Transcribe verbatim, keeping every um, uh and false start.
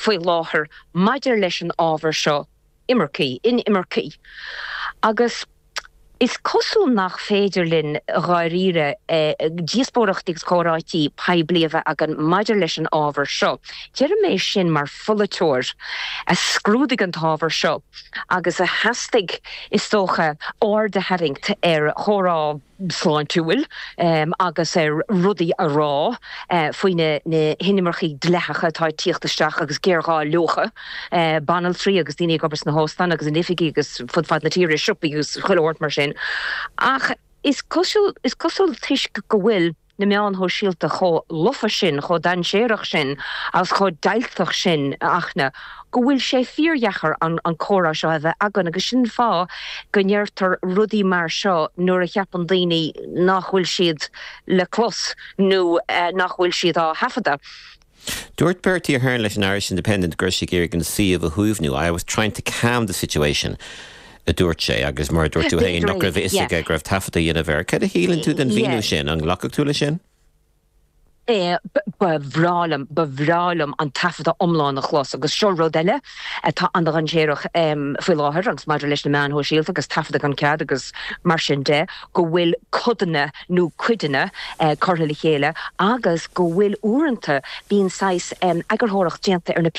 Faoi láthair maidir leis an ábhar seo imircí inimircí. Agus is cosúil nach féidir linn dháiríre eh, díospóireachtaí agus comhráití poiblí a bheith againn maidir leis an ábhar seo. Deirim é sin mar pholaiteoir a scrúdaigh an t-ábhar seo agus a theastaigh is dócha aird a tharraingt ar chomhrá sláintiúil um, agus ar rudaí a rá uh, faoi na, na hinimircigh dleathacha atá ag tíocht isteach agus géarghá leo, uh, banaltraí agus daoine ag obair sna hóstáin agus in oifigí agus fud fad na tíre siopaí agus chuile shórt mar sin. Ach is cosúil is cosúil toisc go bhfuil na meáin shóisialta chomh lofa sin chomh dainséarach sin agus chomh deighilteach sin achna, go bhfuil sé fíordheacair an, an comhrá seo a bheith againn agus sin fáth go ndeirtear rudaí mar seo nuair a cheapann daoine nach bhfuil siad le clos nó eh, nach bhfuil siad á thaifeadadh. Dúirt Bertie Ahern leis an Irish Independent gur sé ag an suíomh a shuaimhniú. I was trying to calm the situation. a dúirt sé agus mar dúirt tú féin nach raibh fhios aige go raibh taifead á dhéanamh air. Cad a shíleann tú den mhíniú sin an nglacfadh tú leis sin? Ba bhreá liom ba bhreá liom an taifead iomlán a chlos agus seo rud eile atá an-dainséarach faoi láthair agus maidir leis na meáin shóisialta agus taifead gan cead agus mar sin de go bhfuil codanna nó cuideanna curtha le chéile agus go bhfuil uaireanta bíonn saghas eagarthóireacht déanta ar na